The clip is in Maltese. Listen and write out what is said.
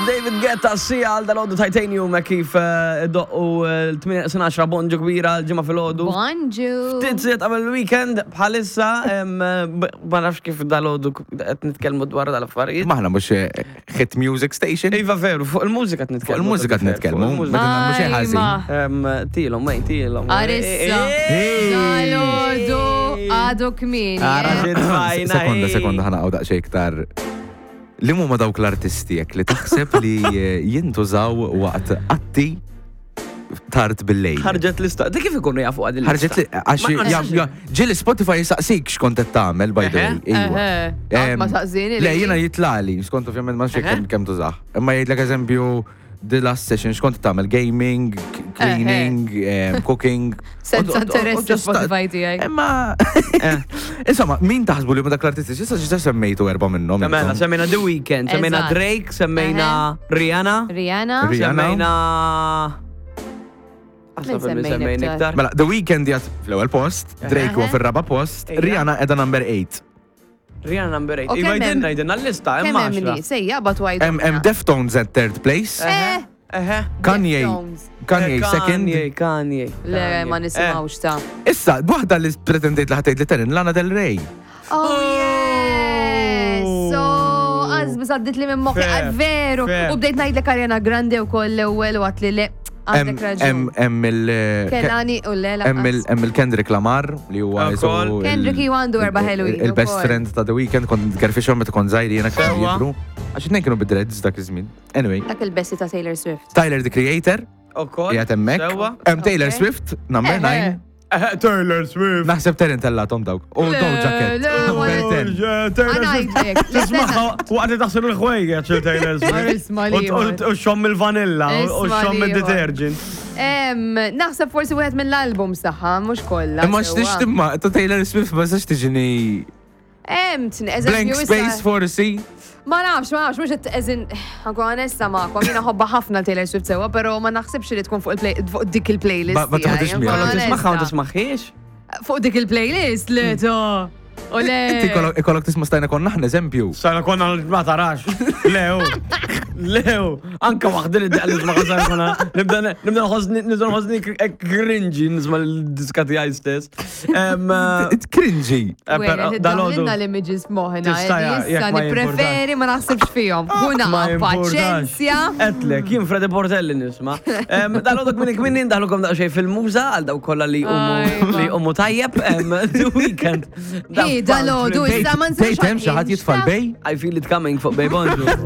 David Guetta sija għal dal-għodu Titanium eh, kif eh, doqqu eh, l-8 bonġu kbira l-ġimgħa fil-għodu. Bonġu. Ftit siet qabel il-weekend bħalissa em, b- ma nafx kif dal-għodu qed nitkellmu dwar dal-affarijiet. Maħna mhux hit music station. Iva veru, fuq il-mużika qed nitkellmu. Fuq il-mużika qed nitkellmu. Fuq il-mużika. Ma nagħmlu xejn ħażin. Ajma. Em, Tilhom, wejn, tilhom. Arissa. Dal-għodu għadu kmieni. Ara eh. xi tfajna, Sekonda, ej. sekonda ħana għaw daqsxejn iktar. Li huma dawk l-artisti jekk li taħseb li eh, jintużaw waqt atti tard bil-lejl. Ħarġet lista. Di kif ikunu jafu għad il-lista? Ħarġet li għax Ma- ma ja- nistax- ja- ġieli Spotify jisaqsik x'kont qed tagħmel by the way. Eħe. Iva. Eħe. Qatt ma Em, saqsini Le, li. jiena jitlali, skont ovvjament ma nafx Eħe. kemm kemm tużah. Imma jgħidlek eżempju the last session x'kont tagħmel gaming, c- cleaning, em, cooking. Senza U- u- u- u interess just- Spotify tiegħi. Imma Insomma, min taħsbu li huma dak l-artisti? Issa ġiġa semmejtu erba' minnhom. Mela, intom. semmejna The Weeknd, semmejna Eżatt. Drake, semmejna Rihanna, Rihanna. Rihanna. semmejna. Min Aħseb li semmejna semmejna iktar? iktar. Mela, The Weeknd jgħat fl-ewwel post, Drake huwa Eħe. fir-raba post, Ejja. Rihanna qiegħda number 8. Rihanna number 8. U Iva kemm hemm- jgħidilna jgħidilna l-lista, hemm Kemm hemm għaxra. nies? Ejja, bat għajdu. Hemm hemm Deftones at third place, Eh, Eħe. Kanye Deftones. Kanye second. Kanye, Kanye. Le, ma Kanye. nisimgħux ta' Issa, waħda li pretendejt li ħatejt li terin, Lana Del Rey. Oh, yes! So, għazbis għaddit li minn moħħi, Fair, veru. fair. U bdejt ngħidlek Ariana Grande u koll l-ewwel u għat li le, għandek raġun. Hemm hemm il Kelani u le, hemm il lanqas. hemm il-Kendrick Lamar li huwa Ukoll. jisu il- Kendrick ju għandu erba' il- ħelwin Il-best ukoll. friend ta' The Weeknd kont gerfixhom meta kont żgħir jiena kienu Sewwa. jidru. Għax it-tnejn kienu bid-dreads dak iż-żmien. Anyway, Dak il-bessi ta' Taylor Swift. Tyler the Creator Ukoll. qiegħed hemmhekk. Sewwa. Hemm Taylor Okay. Swift number Eħe. 9. Eħe, Taylor Swift. Naħseb Terin tellatom dawk. U Doja Cat. Le, le, Number 10. Għanajdlek. Tismaħħa waqt li taħsel il-ħwejjeġ il Taylor Swift. Isma' liħor. U xomm il-vanilla u Isma' xomm liħor. il-detergent. Em, Naħseb forsi wieħed mill-album saħħa, mhux kollha. Imma sewwa. x'tix timma, ta' Taylor Swift ma sax tiġini Em, tn- blank eżempju, issa- space forsi. Ma nafx, ma nafx, mux eżin, għanku għanessa ma'kom, jina ħobba ħafna Taylor Swift sewa, pero ma naħsibx li tkun fuq il-play- fuq dik il-playlist. Ma- ma tiegħi, toħodix nkun miegħek. Kollok tismaħħa u onesta. tismaħħiex. Fuq dik il-playlist, le to. U le. Inti kollok- ikollok tisma' stajna konna aħna eżempju. Sajna konna ma tarax. Lew. Lew. Anka waħda li daqqa nisma' sajna konna. Nibda nibda nħossni nibda nħossni cringy nisma' l-diska tiegħi stess. Em, eh, It cringy. eh, però dal-għodu- Dal-għodu. l-images moħna. Tista' ja, Issa jekk ma nipreferi ma naħsibx fihom. Kuna Ma importax. paċenzja. Etlek, jien Freddy Portelli nisma. Em, Dal-għodok minn kmin nindaħlukom daqxej fil-muża għal daw kolla li Ajma. umu li umu tajjeb em, The Weeknd. Hi, dal-għodu, issa ma nsirx Tgħid hemm xi ħadd jitfa' l-bej? I feel it coming fuq Bej Bonġu.